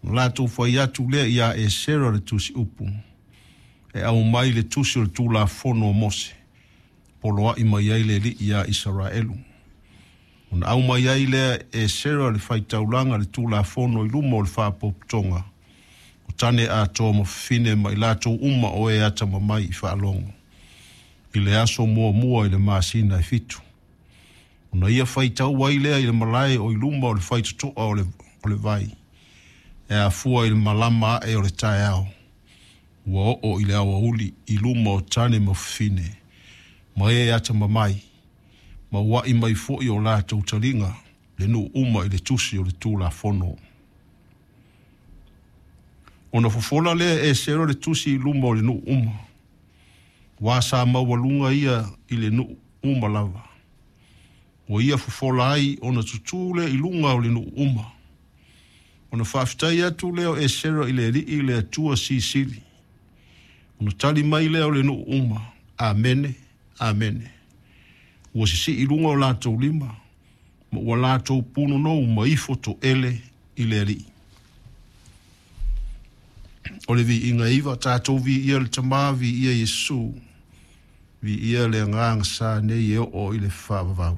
Ona latou fai atu lea iā Esera le tusiupu, e aumai le tusi o le Tulafono a Mose, poloai mai ai le Alii iā Isaraelu. Ona aumai ai lea e Esera le faitaulaga le Tulafono i luma o le faapotopotoga o tane atoa ma fafine ma i latou uma o e atamamai i faalogo, i le aso muamua i le masina e 7. Ona ia faitau ai lea i le malae o i luma o le faitotoa o le vai, e afua i le malama ae o le taeao, ua oo i le aoauli i luma o tane ma fafine, ma e atamamai, ma ua'i mai foi o latou taliga le nuu uma i le tusi o le Tulafono. Ona fofola lea e Esera le tusi i luma o le nuu uma, aua sa maualuga ia i le nuu uma lava. Ua ia fofola ai ona tutū lea i luga o le nuu uma. Ona faafetai atu lea o Esera i le Alii le Atua Silisili. Ona tali mai lea o le nuu uma, Amene, Amene. Ua sisii i luga o latou lima, ma ua latou punonou ma ifo toele i le Alii. O le viiga e iva, tatou viia le Tama, viia Iesu, viia le Agaga sa nei e oo i le faavavau.